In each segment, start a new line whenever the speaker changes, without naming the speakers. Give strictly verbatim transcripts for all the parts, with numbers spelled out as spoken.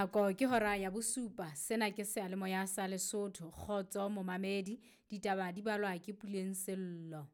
Nako ke hora ya bosupa, sena ke seyalemoya sa Lesotho, kgotso momamedi, ditaba di balwa ke Puleng Sello.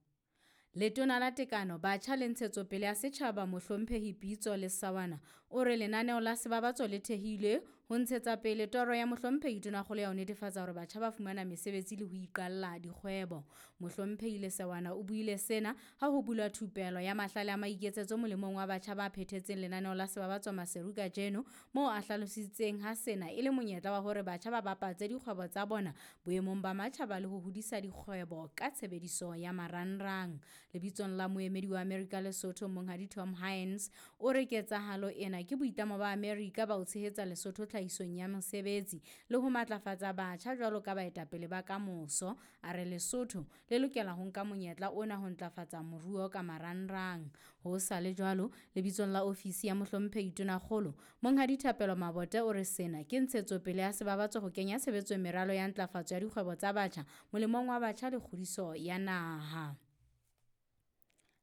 Letona la Tekano, Batjha le Ntshetsopele ya Setjhaba Mohlomphehi Pitso Lesawana o re lenaneo la Sebabatso le thehilwe ho ntshetsa pele toro ya Mohlomphehi Tonakgolo ya ho netefatsa hore batjha ba fumana mesebetsi le ho iqalla dikgwebo. Mohlomphehi Lesawana o buile sena ha ho bulwa thupelo ya mahlale a maiketsetso molemong wa batjha ba phethetseng lenaneo la Sebabatso Maseru kajeno, moo a hlalositseng ha sena e le monyetla wa hore batjha ba bapatse dikgwebo tsa bona boemong ba matjhaba le ho hodisa dikgwebo ka tshebediso ya marangrang. Lebitsong la moemedi wa Amerika Lesotho Monghadi Tom Hines o re ketsahalo ena ke boitlamo ba Amerika ba ho tshehetsa Lesotho tlhahisong ya mesebetsi le ho matlafatsa batjha jwalo ka baetapele ba kamoso. A re Lesotho le lokela ho nka monyetla ona ho ntlafatsa moruo ka marangrang. Ho sa le jwalo, lebitsong la ofisi ya Mohlomphehi Tonakgolo Monghadi Thapelo Mabote o re sena ke ntshetsopele ya Sebabatso ho kenya tshebetsong meralo ya ntlafatso ya dikgwebo tsa batjha molemong wa batjha le kgodiso ya naha.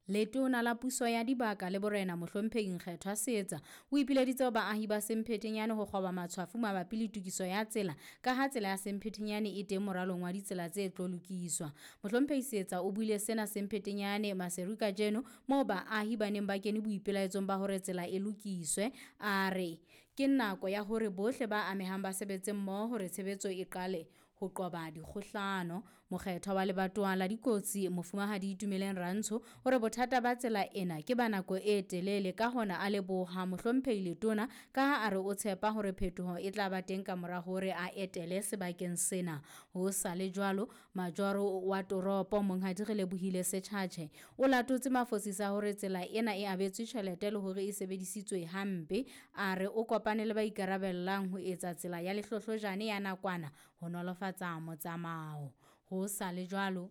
Letona la puso ya dibaka le borena Mohlomphehi Nkgethwa Seetsa o ipileditse ho baahi ba Semphetenyane ho kgoba matshwafo mabapi le tokiso ya tsela ka ha tsela ya Semphetenyane e teng moralong wa ditsela tse tlo lokiswa. Mohlomphehi Seetsa o buile sena Semphetenyane Maseru kajeno moo baahi ba neng ba kene boipelaetsong ba hore tsela e lokiswe. A re ke nako ya hore bohle ba amehang ba sebetse mmoho hore tshebetso e qale ho qoba dikgohlano. Mokgethwa wa lebatowa la dikotsi Mofumahadi Itumeleng Rantsho o re bothata ba tsela ena ke ba nako e telele, ka hona a leboha Mohlomphehi Letona ka ha a re o tshepa hore phetoho e tla ba teng ka mora hore a etele sebakeng sena. Ho sa le jwalo, majoro wa toropo Monghadi Relebohile Setjhatjhe o latotse mafosisa hore tsela ena e abetswe tjhelete le hore e sebedisitswe hampe. A re o kopane le ba ikarabellang ho etsa tsela ya lehlohlojane ya nakwana ho nolofatsa motsamao. Ho sa le jwalo,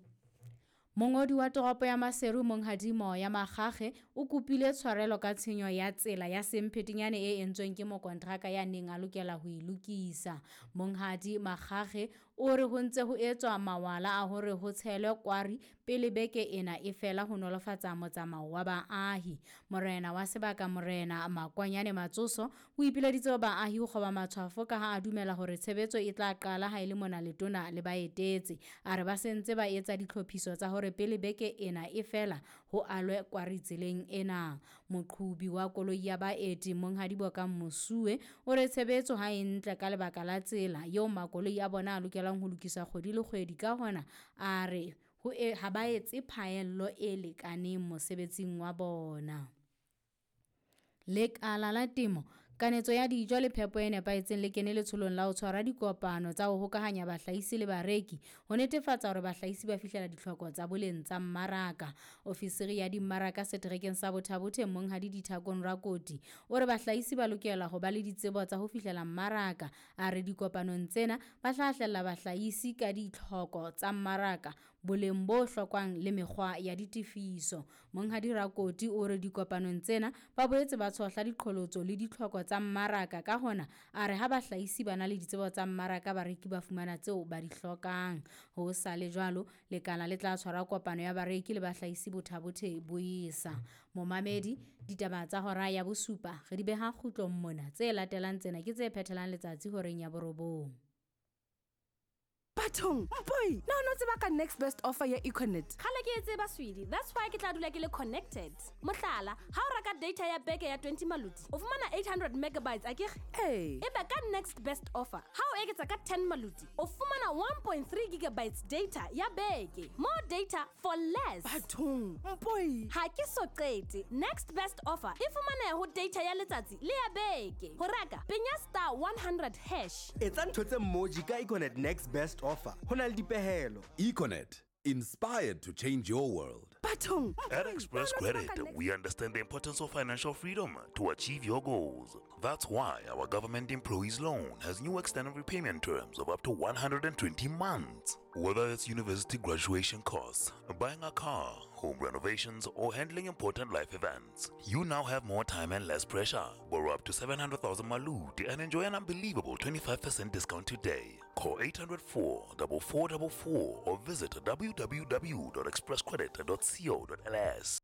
mongodi wa toropo ya Maseru Monghadi Moya Makgakge o kopile tshwarelo ka tshenyo ya tsela ya Semphetenyane e entsweng ke mokontraka ya neng a lokela ho e lokisa. Monghadi Makgakge o re ho ntse ho etswa mawala a hore ho tshelwe kwari pele beke ena e fela ho nolofatsa motsamao wa baahi. Morena wa sebaka Morena Makwanyane Matsoso o ipileditse ho baahi ho kgoba matshwafo ka ha a dumela hore tshebetso e tla qala ha e le mona letona le ba etetse. A re ba sentse ba etsa ditlhophiso tsa hore pele beke ena e fela ho alwe kwari tseleng ena. Moqhubi wa koloi ya baeti Monghadi Bokang Mosuwe o re tshebetso ha e ntle ka lebaka la tsela eo makoloi a bona a lokelang ho lokiswa kgwedi le kgwedi, ka hona a re ho e, ha ba etse phaello e lekaneng mosebetsing wa bona. Lekala la temo, kanetso ya dijo le phepo e nepahetseng le kene letsholong la ho tshwara dikopano tsa ho hokahanya bahlahisi le bareki ho netefatsa hore bahlahisi ba fihlela ditlhoko tsa boleng tsa mmaraka. Ofisiri ya dimmaraka seterekeng sa Botha-Bothe Monghadi Dithakong Rakoti o re bahlahisi ba lokela ho ba le ditsebo tsa ho fihlela mmaraka. A re dikopanong tsena ba hlahlella bahlahisi ka ditlhoko tsa mmaraka, boleng bo hlokwang le mekgwa ya ditefiso. Monghadi Rakoti o re dikopanong tsena ba boetse ba tshohla diqholotso le ditlhoko tsa mmaraka, ka hona a re ha bahlahisi ba na le ditsebo tsa mmaraka bareki ba fumana tseo ba di hlokang. Ho sa le jwalo, lekala le tla tshwara kopano ya bareki le bahlahisi Botha-Bothe boesa. Momamedi, ditaba tsa hora ya bosupa re di beha kgutlong mona. Tse latelang tsena ke tse phethelang letsatsi horeng ya borobong.
Bathong, mpoi, na o no tseba ka next best offer ya Econet?
Kgale ke e tseba, sweetie. That's why ke tla dula ke le connected. Mohlala, ha o reka data ya beke ya twenty maluti, o fumana eight hundred megabytes akere?
Ee.
Ebe ka next best offer, ha o eketsa ka ten maluti, o fumana one point three gigabytes data ya beke. More data for less.
Bathong, mpoi.
Ha ke so qete. Next best offer e fumaneha ho data ya letsatsi le ya beke. Ho reka, penya star one hundred hash.
Etsa ntho tse mmoji ka Econet next best offer. Ho na le dipehelo.
Econet, inspired to change your world.
Bathong,
At Express Credit, we understand the importance of financial freedom to achieve your goals. That's why our government employees loan has new extended repayment terms of up to one hundred twenty months. Whether it's university graduation costs, buying a car, home renovations, or handling important life events, you now have more time and less pressure. Borrow up to seven hundred thousand malut and enjoy an unbelievable twenty-five percent discount today. Call eight hundred four four four four four or visit w w w dot express credit dot co dot l s.